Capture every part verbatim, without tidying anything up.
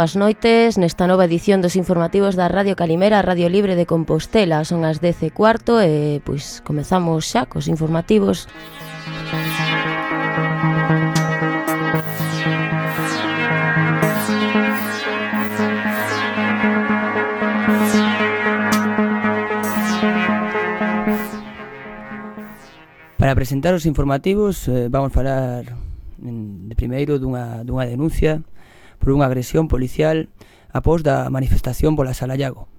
boas noites nesta nova edición dos informativos da Radio Calimera, a Radio Libre de Compostela. Son as dez e cuarto e pois comezamos xa cos informativos. Para presentar os informativos eh, vamos falar de primeiro dunha, dunha denuncia por unha agresión policial após da manifestación pola Sala Llago.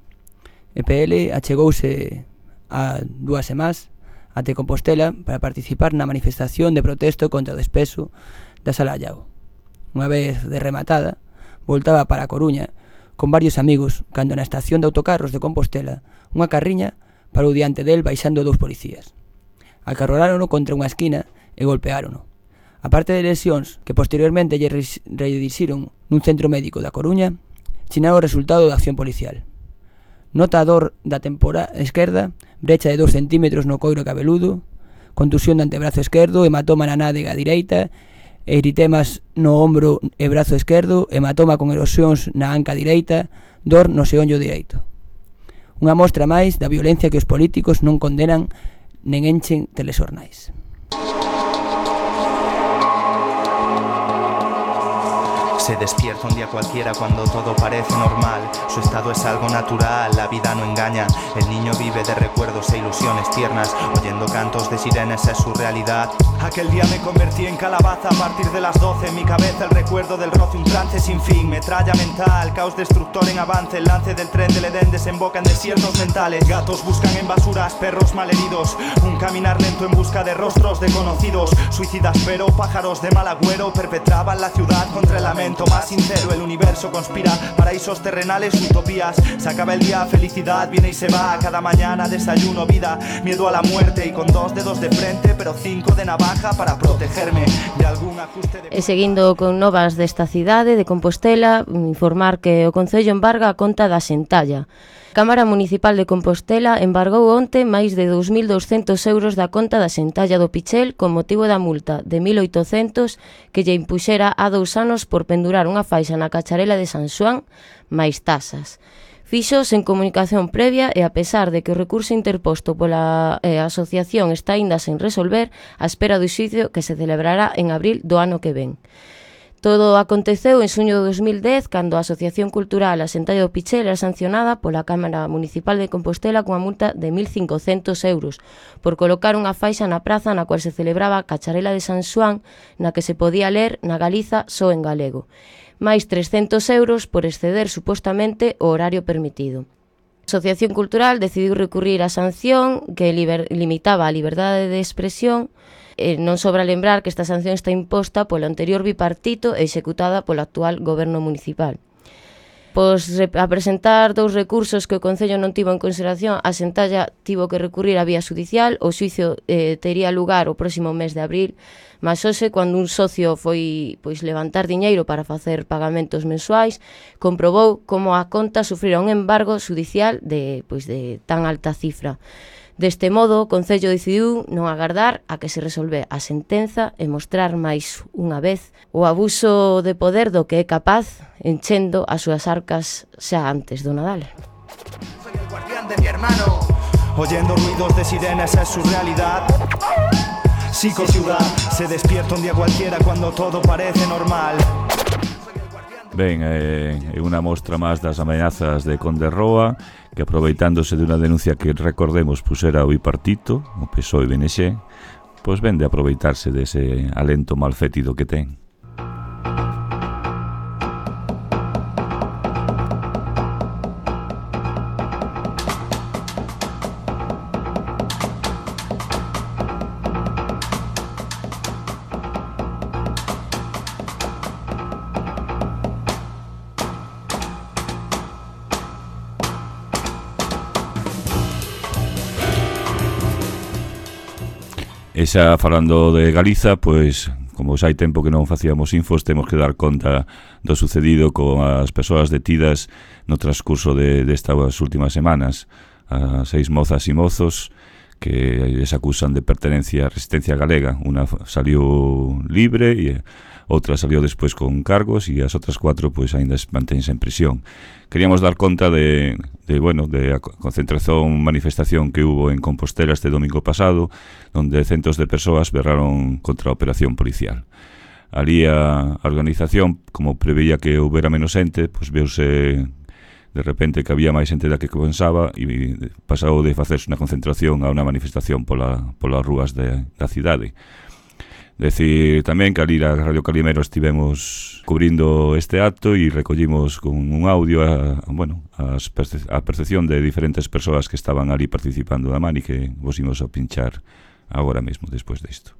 E P L achegouse a dúas semanas até Compostela para participar na manifestación de protesto contra o despeso da Sala Llago. Unha vez de rematada, voltaba para a Coruña con varios amigos cando na estación de autocarros de Compostela unha carriña parou diante del baixando dous policías. Acarrolárono contra unha esquina e golpeárono. A parte de lesións que posteriormente lle redirixiron nun centro médico da Coruña, chinaron o resultado da acción policial. Nota a dor da tempora esquerda, brecha de dous centímetros no coiro cabeludo, contusión do antebrazo esquerdo, hematoma na nádega direita, eritemas no ombro e brazo esquerdo, hematoma con erosións na anca direita, dor no xeonllo direito. Unha mostra máis da violencia que os políticos non condenan nen enchen telexornais. Se despierta un día cualquiera cuando todo parece normal. Su estado es algo natural, la vida no engaña. El niño vive de recuerdos e ilusiones tiernas, oyendo cantos de sirenes es su realidad. Aquel día me convertí en calabaza a partir de las doce. En mi cabeza el recuerdo del roce, un trance sin fin. Metralla mental, caos destructor en avance. El lance del tren del Edén desemboca en desiertos mentales. Gatos buscan en basuras, perros malheridos. Un caminar lento en busca de rostros desconocidos. Suicidas pero pájaros de mal agüero perpetraban la ciudad contra el lamento más sincero. El universo conspira, paraísos terrenales, utopías. Se acaba el día, felicidad viene y se va. Cada mañana desayuno vida, miedo a la muerte. Y con dos dedos de frente, pero cinco de navaja para protegerme de algún ajuste de... E seguindo con novas desta cidade de Compostela, informar que o Concello embarga a conta da Xentalla. A Cámara Municipal de Compostela embargou onte máis de dous mil douscentos euros da conta da Xentalla do Pichel con motivo da multa de mil oitocentos que lle impuxera há dous anos por pendurar unha faixa na cacharela de San Xoán máis tasas. Fixo sen comunicación previa e a pesar de que o recurso interposto pola eh, asociación está aínda sen resolver, a espera do xuízo que se celebrará en abril do ano que ven. Todo aconteceu en xuño de dos mil dez, cando a Asociación Cultural A Xentalla do Pichel era sancionada pola Cámara Municipal de Compostela cunha multa de mil cincocentos euros por colocar unha faixa na praza na cual se celebraba a cacharela de San Xoán, na que se podía ler na Galiza só en galego, máis trescentos euros por exceder supostamente o horario permitido. A Asociación Cultural decidiu recurrir á sanción que liber, limitaba a liberdade de expresión. Eh, non sobra lembrar que esta sanción está imposta polo anterior bipartito e executada polo actual goberno municipal. Pois a presentar dous recursos que o Concello non tivo en consideración, a Xentalla tivo que recurrir á vía judicial. O xuízo eh, tería lugar o próximo mes de abril, mas hoxe, cando un socio foi pois levantar diñeiro para facer pagamentos mensuais, comprobou como a conta sufrira un embargo judicial de, pois, de tan alta cifra. Deste modo, o Concello decidiu non agardar a que se resolve a sentenza e mostrar máis unha vez o abuso de poder do que é capaz, enchendo as súas arcas xa antes do Nadal. Soy el guardián de mi hermano, oyendo ruidos de sirenes es su realidad. Psicociudad, se despierta un día cualquiera cuando todo parece normal. Ben, é eh, unha mostra máis das amenazas de Conde Roa, que aproveitándose de unha denuncia que, recordemos, pusera o bipartito, o P S O E e B N X, pois ven de aproveitarse dese alento malfétido que ten. E xa falando de Galiza, pois, como xa hai tempo que non facíamos infos, temos que dar conta do sucedido con as persoas detidas no transcurso de destas últimas semanas. As seis mozas e mozos que les acusan de pertenencia a Resistencia Galega. Una salió libre e outra salió despois con cargos e as outras cuatro pois aínda mantense en prisión. Queríamos dar conta de, de, bueno, de a concentración, manifestación que hubo en Compostela este domingo pasado, onde centos de persoas berraron contra a operación policial. Ali a organización, como preveía que houbera menos xente, pois veuse de repente que había máis xente da que pensaba e pasou de facerse unha concentración a unha manifestación pola, polas rúas de, da cidade. Decir tamén que ali a Radio Calimero estivemos cubrindo este acto e recollimos con un audio a, bueno, as perce a percepción de diferentes persoas que estaban ali participando da mani, que vos imos a pinchar agora mesmo, despois disto.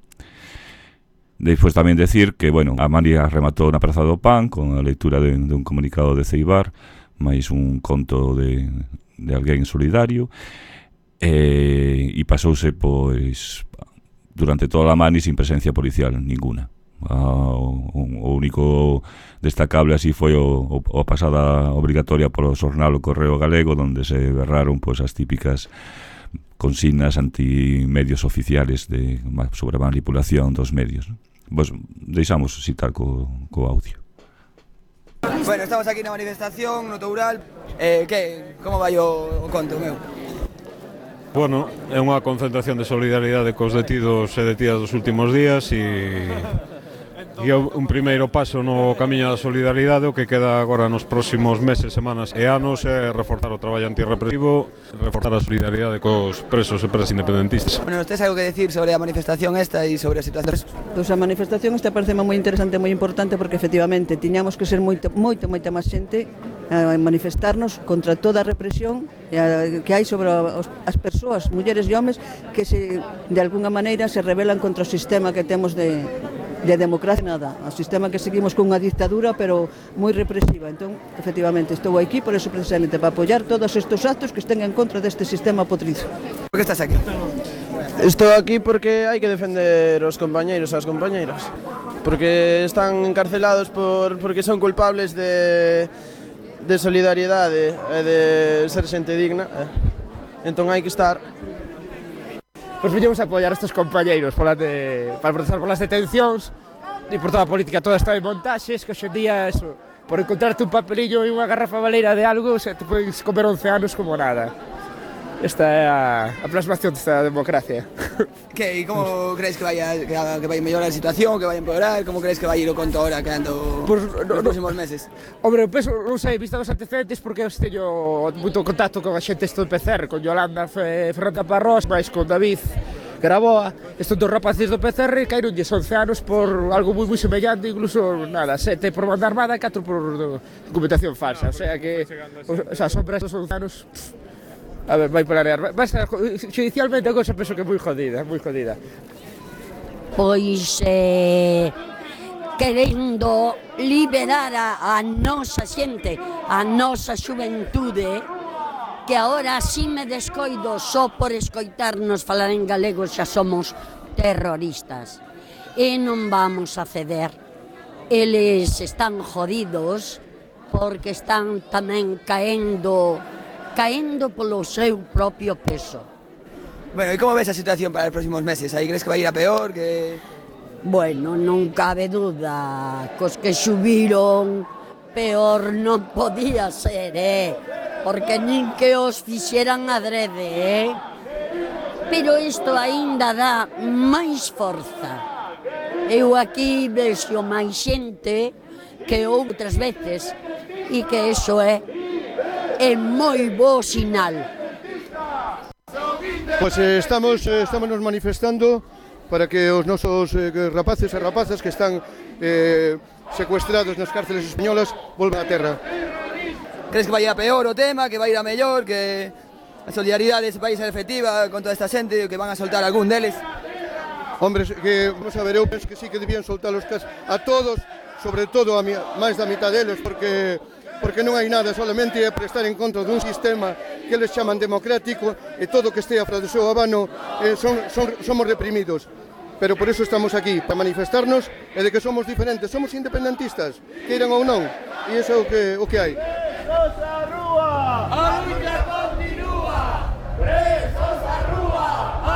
Despois tamén decir que, bueno, a mani rematou na Praza do Pan con a lectura de, de un comunicado de Ceibar, máis un conto de, de alguén solidario, e, e pasouse, pois, durante toda a mani sin presencia policial ninguna. O, o único destacable así foi o, o, a pasada obrigatoria polo xornal O Correo Galego, onde se berraron pois, as típicas consignas antimedios oficiales de, sobre a manipulación dos medios. Pois deixamos citar co, co audio. Bueno, estamos aquí na manifestación no Toural. Eh, que, como vai o, o conto, meu? Bueno, é unha concentración de solidaridade cos detidos e detidas dos últimos días e, e un primeiro paso no camiño da solidaridade. O que queda agora nos próximos meses, semanas e anos é reforzar o traballo antirrepresivo, reforzar a solidaridade cos presos e presas independentistas. Bueno, ¿nos tes algo que decir sobre a manifestación esta e sobre a situación? Pois a manifestación esta parece moi interesante e moi importante porque efectivamente tiñamos que ser moito, moito, moita máis xente a manifestarnos contra toda a represión que hai sobre as persoas, mulleres e homes, que se, de alguna maneira se rebelan contra o sistema que temos de, de democracia, nada, o sistema que seguimos con unha dictadura pero moi represiva. Entón, efectivamente, estou aquí por eso precisamente, para apoiar todos estes actos que estén en contra deste sistema potrizo. Por que estás aquí? Estou aquí porque hai que defender os compañeiros e as compañeiras, porque están encarcelados por, porque son culpables de de solidariedade e de ser xente digna, eh. Entón hai que estar. Pois viñemos a apoiar estes compañeiros pola de, para protestar polas detencións e por toda a política toda esta de montaxes, que hoxe en día eso, por encontrarte un papelillo e unha garrafa baleira de algo, se te podes comer once anos como nada. Esta é a, a plasmación desta democracia. Que, e como crees que vai a, que, a, que vai mellorar a situación, que vai empeorar? Como crees que vai ir o conto ahora quedando pues, no, nos próximos no, meses? Hombre, penso, non sei, vista os antecedentes, porque eu teño moito contacto con a xente esto de P C R, con Yolanda Ferranda Parrós, máis con David Graboa, estos dos rapaces do P C R, caíronlles once anos por algo moi moi semellante, incluso, nada, sete por banda armada e catro por documentación falsa, o sea que, o, o sea, son prestos once anos. Pff, a ver, vai planear, vai ser judicialmente a cousa penso que é moi jodida, moi jodida. Pois eh, querendo liberar a, a nosa xente, a nosa xuventude, que agora así me descoido só por escoitarnos falar en galego xa somos terroristas. E non vamos a ceder. Eles están jodidos porque están tamén caendo caendo polo seu propio peso. Bueno, e como ves a situación para os próximos meses? Aí crees que vai ir a peor? Que... Bueno, non cabe duda, cos que xubiron, peor non podía ser, eh? Porque nin que os fixeran adrede, eh? Pero isto aínda dá máis forza. Eu aquí vexo máis xente que outras veces e que iso é é moi bo sinal. Pois eh, estamos, eh, estamos nos manifestando para que os nosos eh, rapaces e rapazas que están eh, secuestrados nas cárceles españolas volvan á terra. Crees que vai ir a peor o tema, que vai ir a mellor, que a solidaridade vai ser efectiva con toda esta xente, que van a soltar algún deles? Hombre, que, vamos a ver, eu penso que sí que debían soltar os cas a todos, sobre todo a mi, máis da mitad deles, porque porque non hai nada, solamente é prestar en contra dun sistema que eles chaman democrático e todo que estea fora do seu abano eh, son, son, somos reprimidos. Pero por eso estamos aquí, para manifestarnos e de que somos diferentes, somos independentistas, queiran ou non, e iso é o que, o que hai. Presos a rúa! A lucha continúa! Presos a rúa! A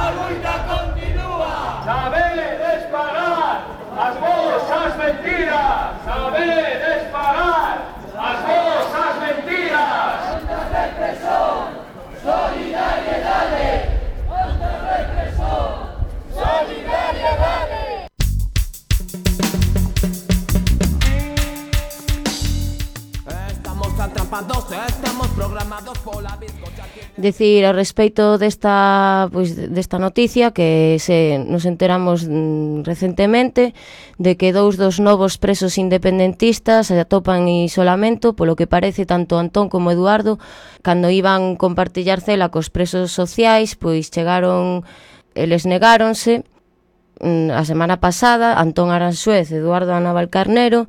Decir a respecto desta, pois, desta noticia que se nos enteramos mm, recentemente de que dous dos novos presos independentistas se atopan en isolamento, polo que parece tanto Antón como Eduardo, cando iban compartillar cela cos presos sociais, pois chegaron, eles negáronse mm, a semana pasada, Antón Aranxuez e Eduardo Navalcarnero,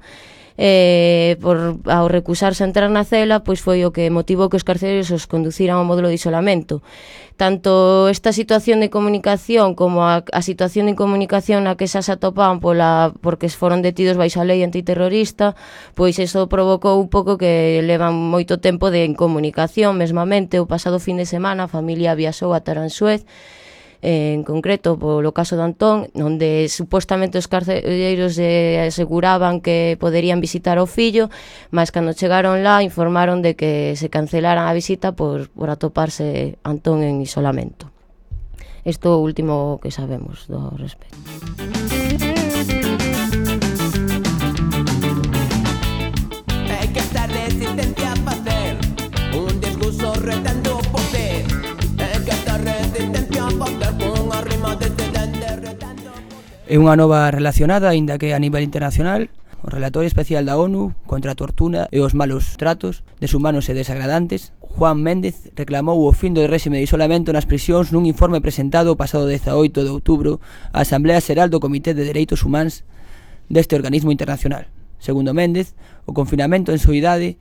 Eh, por, ao recusarse a entrar na cela, pois foi o que motivou que os carcereiros os conduciran ao módulo de isolamento. Tanto esta situación de comunicación como a, a situación de incomunicación na que xa se atopaban pola, porque foron detidos baixo a lei antiterrorista, pois iso provocou un pouco que levan moito tempo de incomunicación. Mesmamente, o pasado fin de semana a familia viaxou a Taranxuez, en concreto polo caso de Antón, onde supostamente os carcereiros eh, aseguraban que poderían visitar ao fillo, mas cando chegaron lá informaron de que se cancelaran a visita por, por atoparse Antón en isolamento. Isto é o último que sabemos do respecto. Hai que estar resistencia a facer un discurso retando o poder. Hai que estar resistencia a facer. É unha nova relacionada, aínda que a nivel internacional, o Relatorio Especial da ONU contra a tortura e os malos tratos deshumanos e desagradantes, Juan Méndez, reclamou o fin do réxime de isolamento nas prisións nun informe presentado o pasado dezaoito de outubro á Asamblea Xeral do Comité de Dereitos Humanos deste organismo internacional. Segundo Méndez, o confinamento en soidade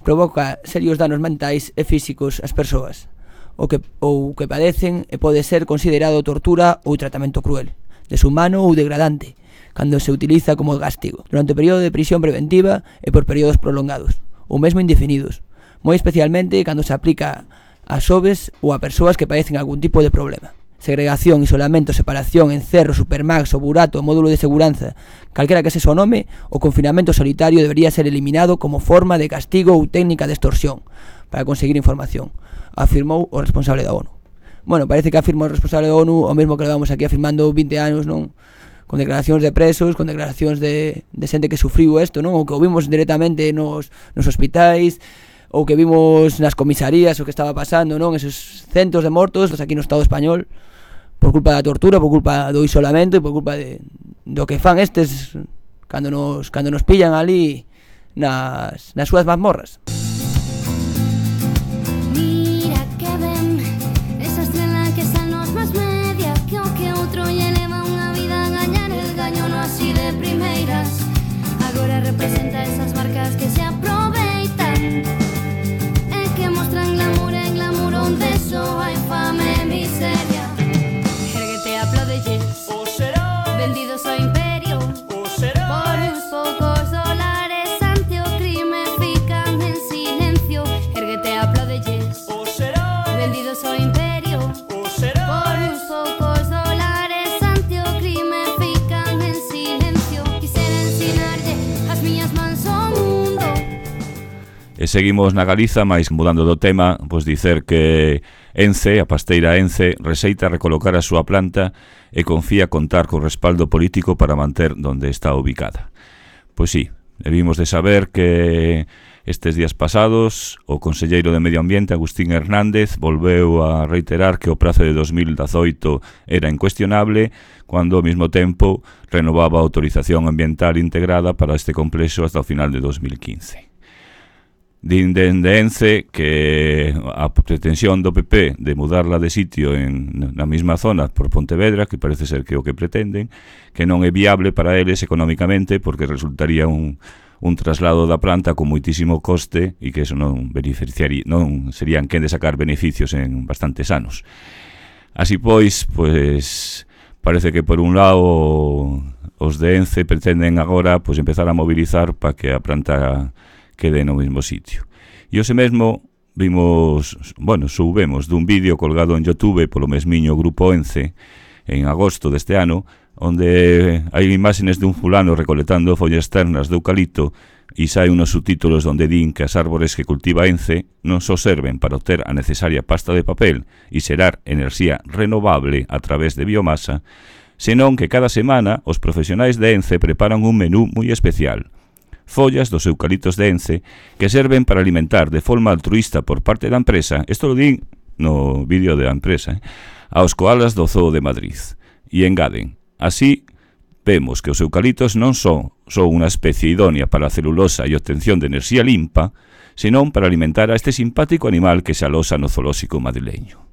provoca serios danos mentais e físicos ás persoas, o que, ou que padecen e pode ser considerado tortura ou tratamento cruel, deshumano ou degradante, cando se utiliza como castigo, durante o período de prisión preventiva e por períodos prolongados, ou mesmo indefinidos, moi especialmente cando se aplica a xoves ou a persoas que padecen algún tipo de problema. Segregación, isolamento, separación, encerro, supermax, o burato, o módulo de seguranza, calquera que se o nome, o confinamento solitario debería ser eliminado como forma de castigo ou técnica de extorsión para conseguir información, afirmou o responsable da ONU. Bueno, parece que afirma o responsable da ONU o mesmo que levamos aquí afirmando vinte anos, non? Con declaracións de presos, con declaracións de, de xente que sufriu isto, non? O que o vimos directamente nos, nos hospitais, ou que vimos nas comisarías o que estaba pasando, non? Esos centos de mortos aquí no Estado español por culpa da tortura, por culpa do isolamento e por culpa de, do que fan estes cando nos, cando nos pillan ali nas, nas súas mazmorras. Representa esas marcas que se aproveitan e que mostran glamour e glamour onde só hai fame e miseria. Erguete, aplaudelles, vendidos ao imperio por uns poucos dólares ante o crime fican en silencio. Erguete, aplaudelles, vendidos ao imperio por uns poucos dólares ante o crime fican en silencio. Quisera ensinarlle as miñas mans ao mundo. E seguimos na Galiza, máis mudando do tema, pois dicer que Ence, a pasteira Ence, rexeita recolocar a súa planta e confía contar co respaldo político para manter donde está ubicada. Pois sí, debimos de saber que estes días pasados o conselleiro de Medio Ambiente, Agustín Hernández, volveu a reiterar que o prazo de dos mil dezoito era incuestionable, cando ao mesmo tempo renovaba a autorización ambiental integrada para este complexo hasta o final de dos mil quince. Din dende Ence que a pretensión do P P de mudarla de sitio en, na mesma zona por Pontevedra, que parece ser que é o que pretenden, que non é viable para eles económicamente porque resultaría un, un traslado da planta con moitísimo coste e que eso non beneficiaría, non serían quen de sacar beneficios en bastantes anos. Así pois, pois parece que por un lado os de Ence pretenden agora pois empezar a mobilizar para que a planta quede no mesmo sitio. E hoxe mesmo vimos, bueno, subemos dun vídeo colgado en YouTube polo mesmiño Grupo Ence en agosto deste ano, onde hai imágenes dun fulano recoletando follas ternas de eucalipto e sai unos subtítulos onde din que as árbores que cultiva Ence non só serven para obter a necesaria pasta de papel e xerar enerxía renovable a través de biomasa, senón que cada semana os profesionais de Ence preparan un menú moi especial. follas dos eucaliptos de Ence que serven para alimentar de forma altruista por parte da empresa, isto lo din no vídeo da empresa, eh, aos koalas do Zoo de Madrid. E engaden, así vemos que os eucaliptos non son só unha especie idónea para a celulosa e obtención de enerxía limpa, senón para alimentar a este simpático animal que se alosa no zoolóxico madrileño.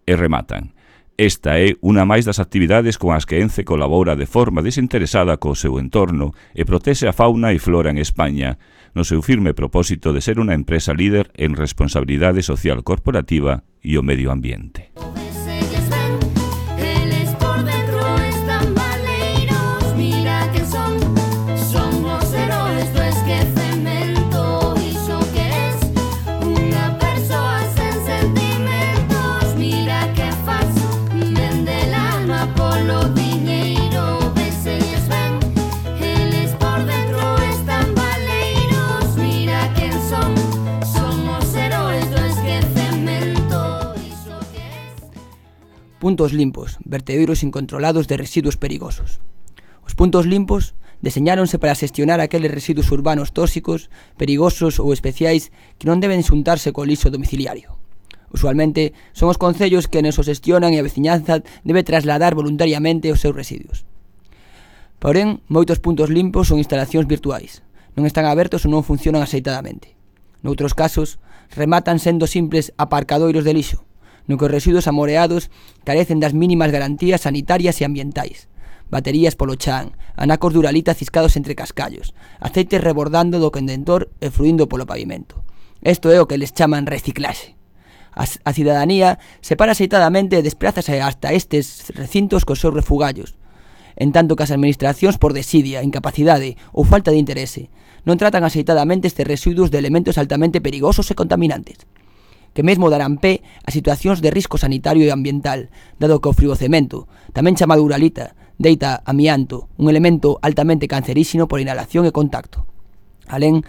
E rematan. Esta é unha máis das actividades con as que Ence colabora de forma desinteresada co seu entorno e protexe a fauna e flora en España, no seu firme propósito de ser unha empresa líder en responsabilidade social corporativa e o medio ambiente. Puntos limpos, vertederos incontrolados de residuos perigosos. Os puntos limpos deseñáronse para xestionar aqueles residuos urbanos tóxicos, perigosos ou especiais que non deben xuntarse co lixo domiciliario. Usualmente son os concellos que nos o xestionan e a veciñanza debe trasladar voluntariamente os seus residuos. Porén, moitos puntos limpos son instalacións virtuais, non están abertos ou non funcionan axeitadamente. Noutros casos, rematan sendo simples aparcadoiros de lixo, no que os residuos amoreados carecen das mínimas garantías sanitarias e ambientais. Baterías polo chan, anacos de uralita ciscados entre cascallos, aceites rebordando do condentor e fluindo polo pavimento. Isto é o que les chaman reciclaxe. A, a cidadanía separa aceitadamente e desplázase hasta estes recintos cos seus refugallos, en tanto que as administracións por desidia, incapacidade ou falta de interese non tratan aceitadamente estes residuos de elementos altamente perigosos e contaminantes, que mesmo darán pé a situacións de risco sanitario e ambiental, dado que o frigocemento, tamén chamado uralita, deita amianto, un elemento altamente canceríxeno por inhalación e contacto. Alén,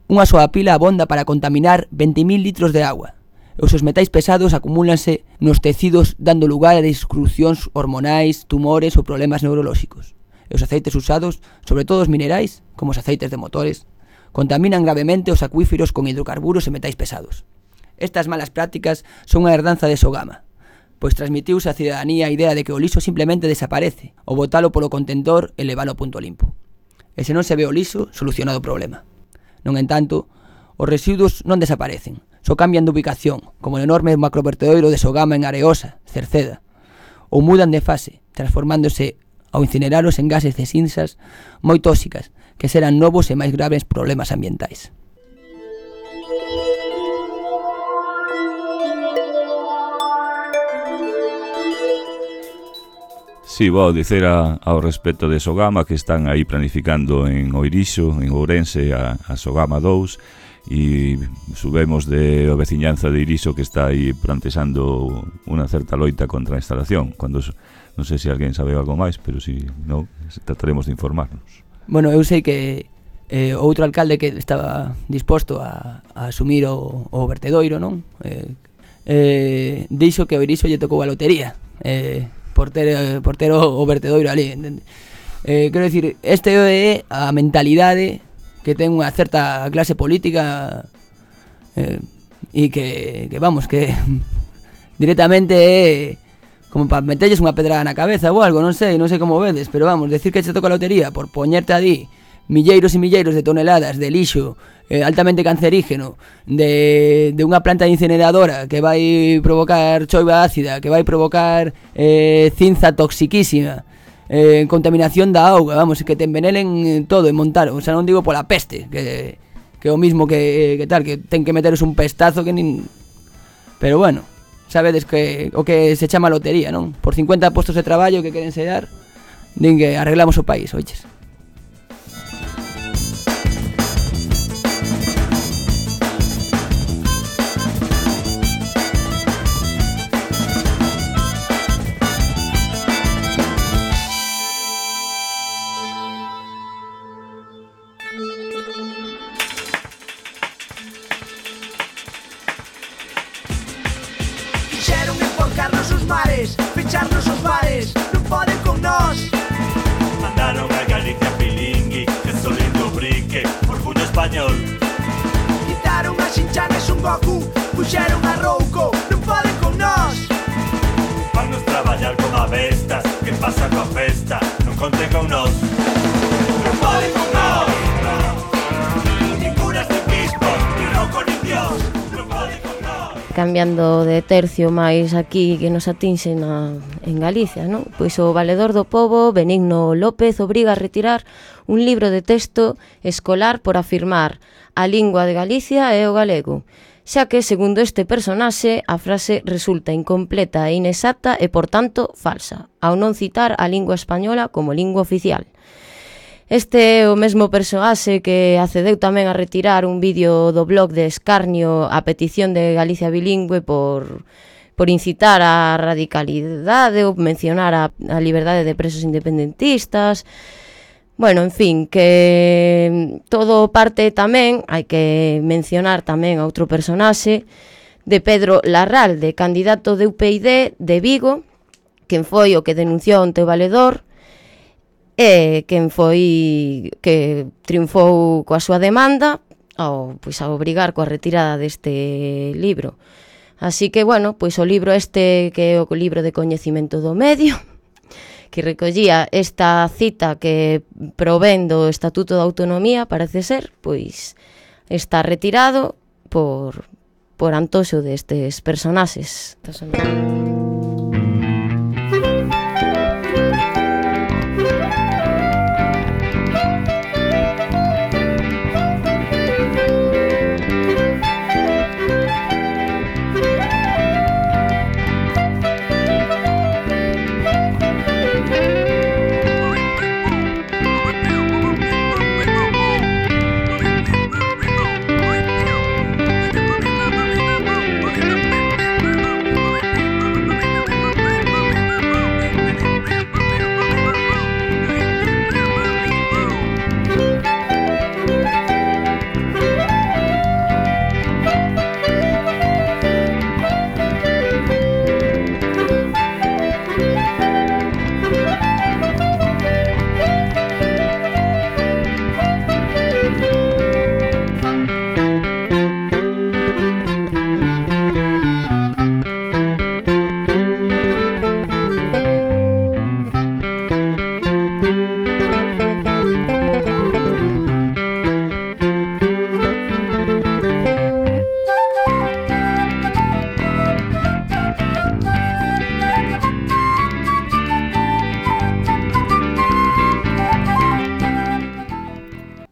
unha soa pila abonda para contaminar vinte mil litros de agua, e os metais pesados acumúlanse nos tecidos dando lugar a disrupcións hormonais, tumores ou problemas neurolóxicos. E os aceites usados, sobre todo os minerais, como os aceites de motores, contaminan gravemente os acuíferos con hidrocarburos e metais pesados. Estas malas prácticas son unha herdanza de Sogama, pois transmitiuse á cidadanía a idea de que o lixo simplemente desaparece, ou botalo polo contentor e levalo a punto limpo. E se non se ve o lixo, solucionado o problema. Non entanto, os residuos non desaparecen, só cambian de ubicación, como o enorme macrovertedoiro de Sogama en Areosa, Cerceda, ou mudan de fase, transformándose ao incineralos en gases de cinzas moi tóxicas, que serán novos e máis graves problemas ambientais. Si, vou dicer a, ao respecto de Sogama que están aí planificando en Oirixo, en Ourense, a, a Sogama dous, e subemos de a veciñanza de Irixo que está aí plantexando unha certa loita contra a instalación. Cando, non sei se alguén sabe algo máis, pero si non, trataremos de informarnos. Bueno, eu sei que eh, outro alcalde que estaba disposto a, a asumir o, o vertedoiro, non? Eh, eh, dixo que o Irixo lle tocou a lotería, eh, por ter, por ter o, o vertedoiro ali, entende? Eh, quero dicir, este é a mentalidade que ten unha certa clase política eh, e que, que vamos, que directamente é como para metelles unha pedrada na cabeza ou algo, non sei, non sei como vedes, pero vamos, decir que se toca a lotería por poñerte ali milleiros e milleiros de toneladas de lixo eh, altamente cancerígeno de, de unha planta incineradora que vai provocar choiva ácida, que vai provocar eh, cinza toxiquísima, eh, contaminación da auga, vamos, que te envenenen todo e montar, o sea, non digo pola peste, que, que é o mismo que, que tal, que ten que meteros un pestazo que nin... Pero bueno, sabedes que o que se chama lotería, non? Por cincuenta postos de traballo que queren se dar, din que arreglamos o país, oiches. Ficharnos os bares, non poden con nós. Mandaron a Galicia Pilingui, que solindo español. Quitaron a Shin-chan e Son Goku, puxeron a Rouco, non poden con nós. Vannos traballar como bestas, que pasa coa festa, non conten con nós. Non poden con nós. Nin curas, nin bispos, nin rouco, nin dios. Non poden con nós. Cambiando de tercio máis aquí que nos atinxe na, en Galicia, non? Pois o valedor do pobo, Benigno López, obriga a retirar un libro de texto escolar por afirmar a lingua de Galicia é o galego, xa que, segundo este personaxe, a frase resulta incompleta e inexacta e, por tanto, falsa, ao non citar a lingua española como lingua oficial. Este é o mesmo persoaxe que accedeu tamén a retirar un vídeo do blog de escarnio a petición de Galicia Bilingüe por, por incitar a radicalidade ou mencionar a, a liberdade de presos independentistas. Bueno, en fin, que todo parte tamén, hai que mencionar tamén a outro personaxe, de Pedro Larralde, candidato de U P I D de Vigo, quen foi o que denunciou ante o valedor, e quen foi que triunfou coa súa demanda ao, pois, a obrigar coa retirada deste libro. Así que, bueno, pois o libro este, que é o libro de coñecimento do medio, que recollía esta cita que provén do Estatuto de Autonomía, parece ser, pois está retirado por, por antoxo destes personaxes.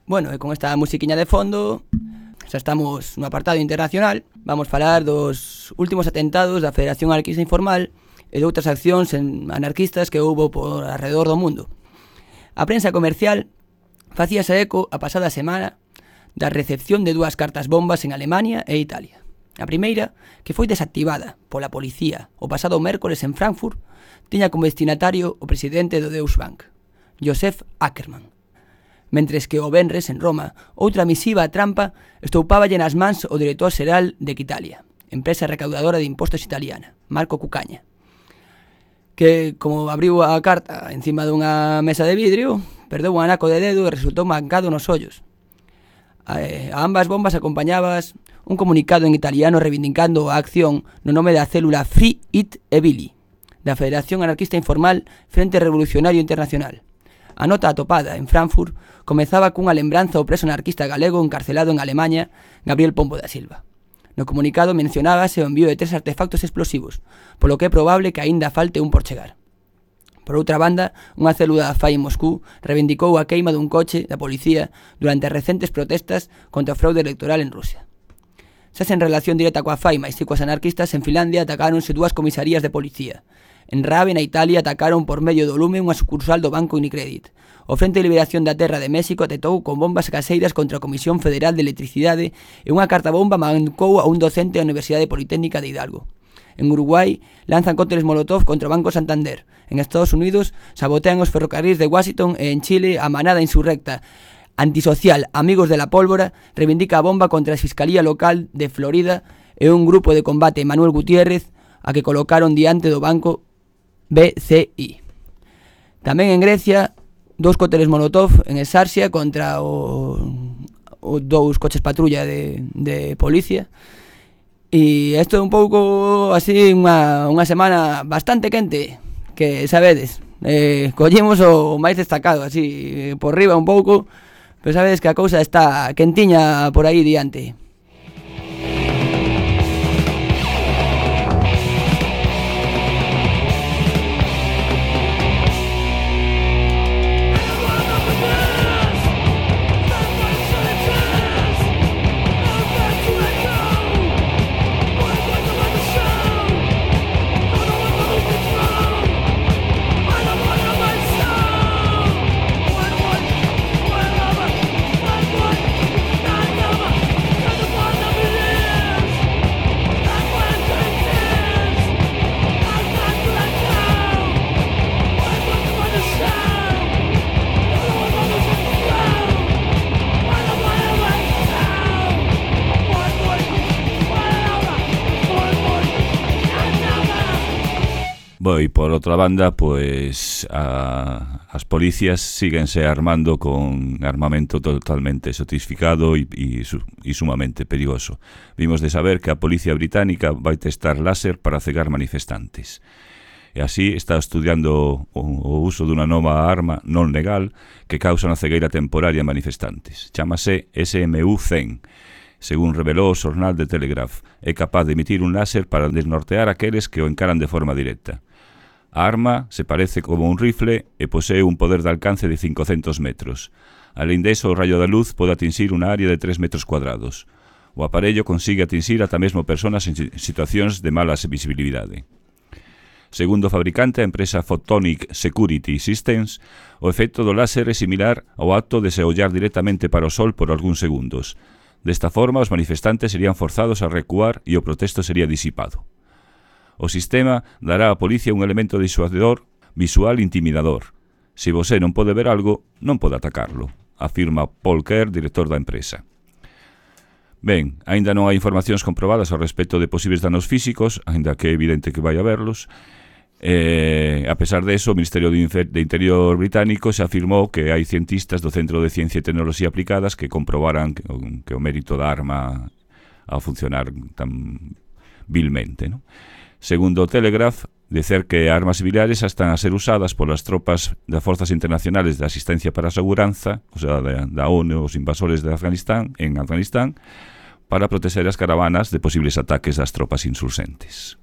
Bueno, e con esta musiquiña de fondo, xa estamos no apartado internacional, vamos falar dos últimos atentados da Federación Anarquista Informal e de outras accións anarquistas que houbo por alrededor do mundo. A prensa comercial facíase eco a pasada semana da recepción de dúas cartas bombas en Alemania e Italia. A primeira, que foi desactivada pola policía o pasado mércores en Frankfurt, tiña como destinatario o presidente do Deutsche Bank, Josef Ackermann. Mentres que o venres en Roma, outra misiva a trampa estoupáballe nas mans o director xeral de Quitalia, empresa recaudadora de impostos italiana, Marco Cucaña, que, como abriu a carta encima dunha mesa de vidrio, perdeu un anaco de dedo e resultou mancado nos ollos. A, a ambas bombas acompañabas un comunicado en italiano reivindicando a acción no nome da célula Free It e Billy, da Federación Anarquista Informal Frente Revolucionario Internacional. A nota atopada en Frankfurt comezaba cunha lembranza ao preso anarquista galego encarcelado en Alemaña, Gabriel Pombo da Silva. No comunicado mencionábase o envío de tres artefactos explosivos, polo que é probable que aínda falte un por chegar. Por outra banda, unha célula da F A I en Moscú reivindicou a queima dun coche da policía durante as recentes protestas contra o fraude electoral en Rusia. Xa sen relación directa coa F A I, mais si coas anarquistas, en Finlandia atacáronse dúas comisarías de policía. En Rabe, na Italia, atacaron por medio do lume unha sucursal do Banco Unicredit. O Frente de Liberación da Terra de México atentou con bombas caseiras contra a Comisión Federal de Electricidade e unha carta bomba mancou a un docente da Universidade Politécnica de Hidalgo. En Uruguai, lanzan cócteles Molotov contra o Banco Santander. En Estados Unidos, sabotean os ferrocarrís de Washington e en Chile a manada insurrecta antisocial Amigos de la Pólvora reivindica a bomba contra a Fiscalía Local de Florida e un grupo de combate Manuel Gutiérrez a que colocaron diante do Banco B C I. Tamén en Grecia, dous cócteles Molotov en Exarsia contra o, dous coches patrulla de, de policía. E isto é un pouco así unha, unha semana bastante quente, que sabedes, eh, collemos o máis destacado así por riba un pouco, pero sabedes que a cousa está quentiña por aí diante. Bueno, y por otra banda, pues a, as policías síguense armando con armamento totalmente sofistificado y, y, y sumamente perigoso. Vimos de saber que a policía británica vai testar láser para cegar manifestantes. E así está estudiando o, o uso dunha nova arma non legal que causa unha cegueira temporaria a manifestantes. Chámase S M U cen. Según revelou o xornal de Telegraph, é capaz de emitir un láser para desnortear aqueles que o encaran de forma directa. A arma se parece como un rifle e posee un poder de alcance de cincocentos metros. Alén deso, o rayo da luz pode atinxir unha área de tres metros cuadrados. O aparello consigue atinxir ata mesmo personas en situacións de mala visibilidade. Segundo o fabricante, a empresa Photonic Security Systems, o efecto do láser é similar ao acto de se ollar directamente para o sol por algúns segundos. Desta forma, os manifestantes serían forzados a recuar e o protesto sería disipado. O sistema dará á policía un elemento disuador visual intimidador. Se você non pode ver algo, non pode atacarlo, afirma Paul Kerr, director da empresa. Ben, aínda non hai informacións comprobadas ao respecto de posibles danos físicos, aínda que é evidente que vai haberlos. Eh, a pesar de eso, o Ministerio de Interior británico se afirmou que hai cientistas do Centro de Ciencia e Tecnoloxía Aplicadas que comprobaran que, que o mérito da arma a funcionar tan vilmente, ¿no? Segundo o Telegraph, dicer que armas similares están a ser usadas polas tropas das Forzas Internacionales de Asistencia para a Seguranza, o sea, da, da ONU, os invasores de Afganistán, en Afganistán, para proteger as caravanas de posibles ataques das tropas insurgentes.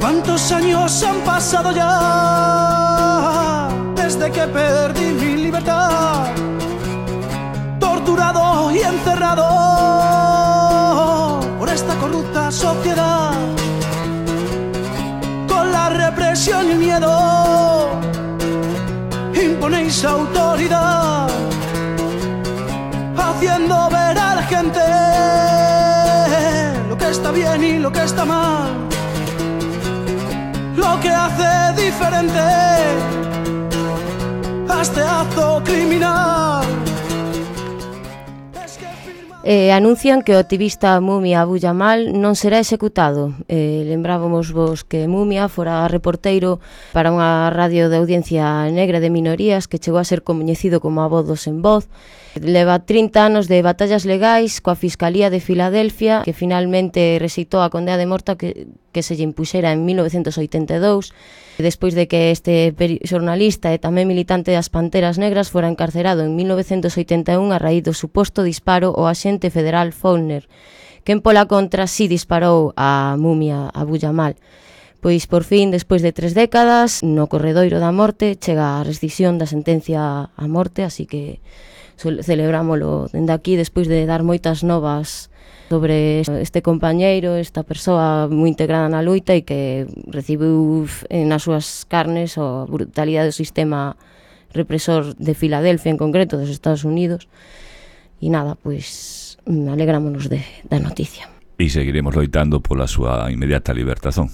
¿Cuántos años han pasado ya desde que perdí mi libertad? Torturado y encerrado por esta corrupta sociedad, con la represión y el miedo imponéis autoridad, haciendo ver a la gente lo que está bien y lo que está mal, lo que hace diferente a este acto criminal. Eh, anuncian que o activista Mumia Abu Jamal non será executado. Eh, lembrábamos vos que Mumia fora reporteiro para unha radio de audiencia negra de minorías que chegou a ser coñecido como a Voz do Sen Voz. Leva trinta anos de batallas legais coa Fiscalía de Filadelfia, que finalmente rexeitou a condena de morte que, que se lle impuxera en mil novecentos oitenta e dous, despois de que este xornalista e tamén militante das Panteras Negras fora encarcerado en mil novecentos oitenta e un a raíz do suposto disparo ao axente federal Faulkner, quen pola contra si disparou a Mumia Abu Jamal. Pois por fin, despois de tres décadas, no corredoiro da morte, chega a rescisión da sentencia a morte, así que celebrámolo dende aquí despois de dar moitas novas sobre este compañeiro, esta persoa moi integrada na loita e que recibiu nas súas carnes a brutalidade do sistema represor de Filadelfia, en concreto dos Estados Unidos. E nada, pois alegrámonos de, da noticia. E seguiremos loitando pola súa inmediata libertación.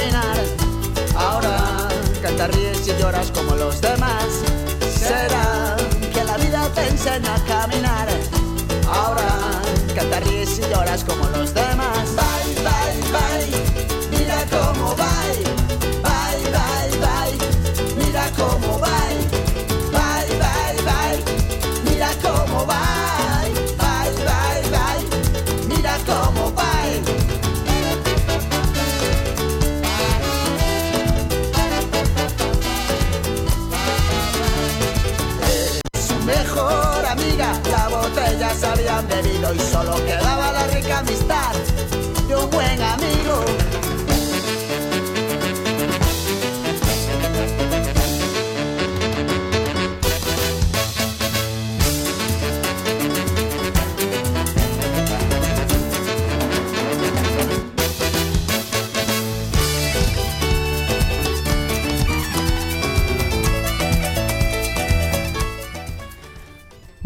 caminar. Ahora cantas, ríes y lloras como los demás. Será que la vida te enseña a caminar. Ahora cantas, ríes y lloras como los demás. Bye, bye, bye, mira cómo bye. Bye, bye, bye, mira cómo bye. Bye, bye, bye, mira cómo bye. Bye, bye, bye, mira cómo bye. Mejor amiga, la botella se habían bebido y solo quedaba la rica amistad de un buen amigo.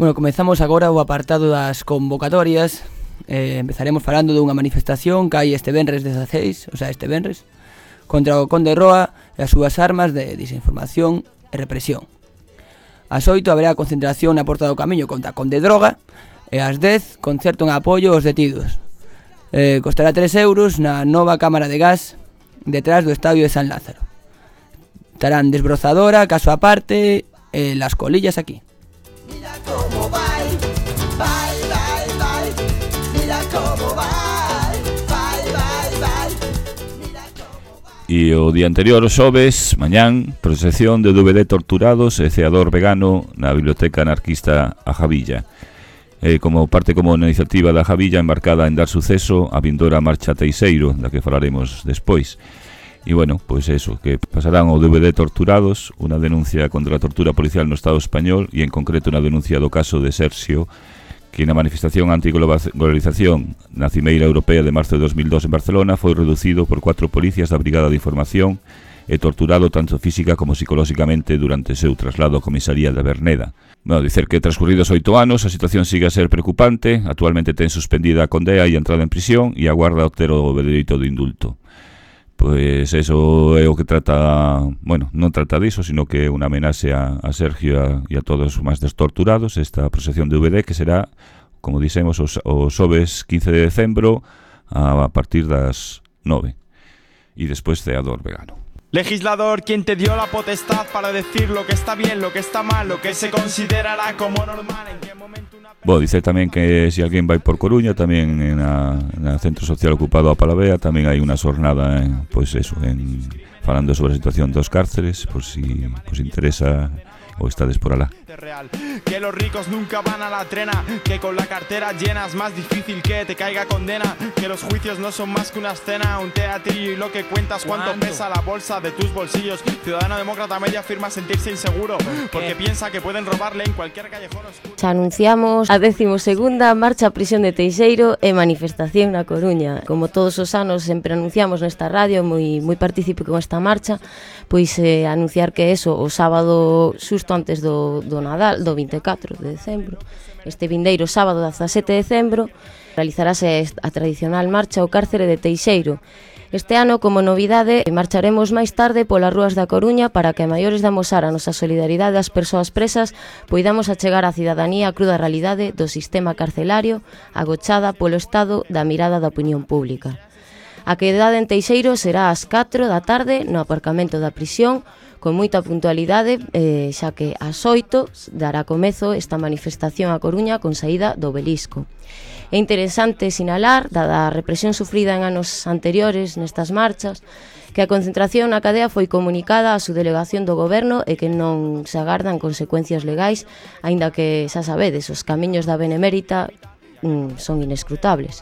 Bueno, comezamos agora o apartado das convocatorias. eh, Empezaremos falando dunha manifestación que hai este venres dezaseis, o sea, este venres, contra o Conde Roa e as súas armas de desinformación e represión. Ás oito haberá concentración na Porta do Camiño contra Conde Droga e ás dez concerto en apoio aos detidos. eh, Costará tres euros na nova cámara de gas detrás do estadio de San Lázaro. Estarán desbrozadora, caso aparte e las colillas aquí. Mira cómo bye, bye, bye, bye. Mira cómo bye, bye, bye, bye. Mira cómo bye. E o día anterior, o xoves, mañán, procesión de D V D torturados e ceador vegano na Biblioteca Anarquista A Javilla. Eh, como parte como na iniciativa da Javilla embarcada en dar suceso a vindora marcha Teixeiro, da que falaremos despois. E bueno, pois pues eso, que pasarán o D V D torturados, unha denuncia contra a tortura policial no Estado español e en concreto unha denuncia do caso de Serxio, que na manifestación antiglobalización na Cimeira Europea de marzo de dos mil dos en Barcelona foi reducido por cuatro policías da Brigada de Información e torturado tanto física como psicolóxicamente durante o seu traslado á comisaría de Berneda. Bueno, dicer que transcurridos oito anos a situación sigue a ser preocupante. Actualmente ten suspendida a condea e entrada en prisión e aguarda obter o dereito de indulto. Pois eso é o que trata, bueno, non trata diso, sino que é unha amenaxe a, a Sergio a, e a todos os máis destorturados, esta procesión de D V D que será, como dixemos, os, os xoves quince de decembro a, a partir das nove e despois ceador vegano. Legislador, quien te dio la potestad para decir lo que está bien, lo que está mal, lo que se considerará como normal, en qué momento una... Bo, dice tamén que se si alguén vai por Coruña, tamén na, na Centro Social Ocupado a Palavea, tamén hai unha xornada, eh, pois eso, en, falando sobre a situación dos cárceres, por si pues, interesa o estades por alá. Real. Que los ricos nunca van a la trena, que con la cartera llena es más difícil que te caiga condena, que los juicios no son más que una escena, un teatrillo y lo que cuentas cuánto pesa la bolsa de tus bolsillos. Ciudadano demócrata medio afirma sentirse inseguro porque piensa que pueden robarle en cualquier callejón oscuro. Xa anunciamos a decimosegunda marcha a prisión de Teixeiro e manifestación na Coruña. Como todos os anos sempre anunciamos nesta radio, moi moi partícipe con esta marcha, pois eh, anunciar que eso, o sábado xusto antes do, do Nadal, do vinte e catro de decembro, este vindeiro sábado dezasete de decembro, realizarase a tradicional marcha ao cárcere de Teixeiro. Este ano, como novidade, marcharemos máis tarde polas rúas da Coruña para que, a maiores de amosar a nosa solidaridade ás persoas presas, poidamos achegar á cidadanía a cruda realidade do sistema carcelario agochada polo estado da mirada da opinión pública. A quedada en Teixeiro será ás catro da tarde no aparcamento da prisión, con moita puntualidade, eh, xa que ás oito dará comezo esta manifestación a Coruña con saída do Obelisco. É interesante sinalar, dada a represión sufrida en anos anteriores nestas marchas, que a concentración na cadea foi comunicada á subdelegación do Goberno e que non se agardan consecuencias legais, aínda que, xa sabedes, os camiños da Benemérita mm, son inescrutables.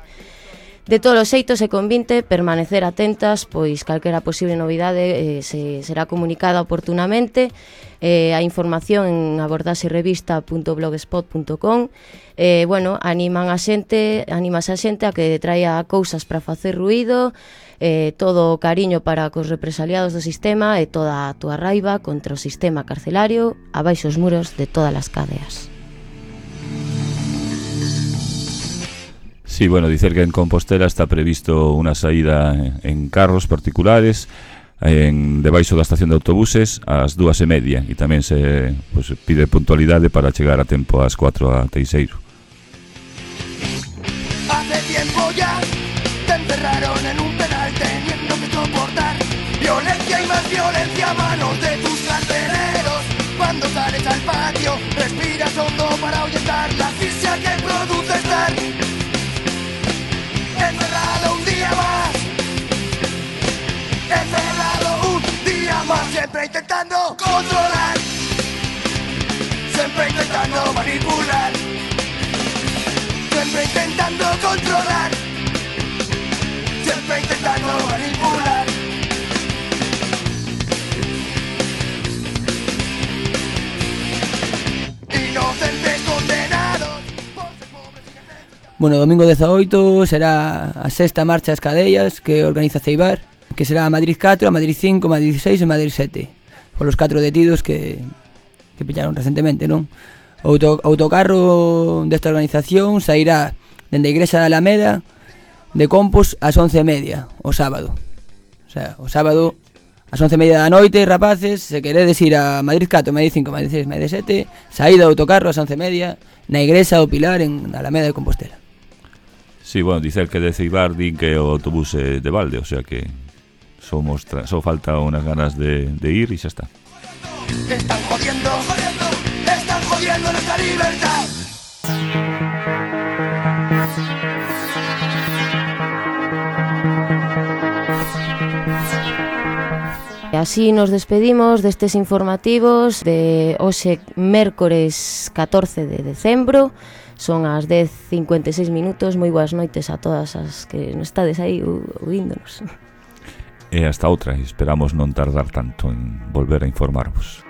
De todos os xeitos e convinte permanecer atentas, pois calquera posible novidade eh, se será comunicada oportunamente. Eh, a información en abordaserevista punto blogspot punto com. Eh, bueno, animan a xente, animas a xente a que traia cousas para facer ruído, eh, todo o cariño para cos represaliados do sistema e toda a túa raiva contra o sistema carcelario abaixo os muros de todas as cadeas. Sí, bueno, dicer que en Compostela está previsto unha saída en carros particulares en debaixo da estación de autobuses ás dúas e media e tamén se pues, pide puntualidade para chegar a tempo ás cuatro a Teixeiro. Hace tiempo ya te encerraron en un penal teniendo que soportar violencia y más violencia a manos de tus carceleros. Cuando sales al patio respiras hondo para ahuyentar la asfixia que produce estar encerrado un día más, encerrado un día más, siempre intentando controlar, siempre intentando manipular, siempre intentando controlar, siempre intentando manipular. Inocentes condenados. Bueno, domingo dezaoito será a sexta marcha ás cadellas que organiza Ceibar, que será a Madrid catro, a Madrid cinco, a Madrid seis e a Madrid sete, polos catro detidos que, que pillaron recentemente, non? O auto, autocarro desta organización sairá dende a Igrexa da Alameda de Compos ás once e media, o sábado. O sea, o sábado ás once e media da noite, rapaces, se queredes ir a Madrid catro, Madrid cinco, Madrid seis, Madrid sete, saída do autocarro ás once e media na Igrexa do Pilar en Alameda de Compostela. Sí, bueno, dicer que de Ceibar din que o autobús é de balde, o sea que só, mostra, só falta unas ganas de, de ir e xa está. Están jodiendo, jodiendo, están jodiendo nuestra libertad. E así nos despedimos destes informativos de hoxe mércores catorce de decembro. Son as dez e cincuenta e seis minutos. Moi boas noites a todas as que estades aí ouíndonos. E hasta outra, esperamos non tardar tanto en volver a informarvos.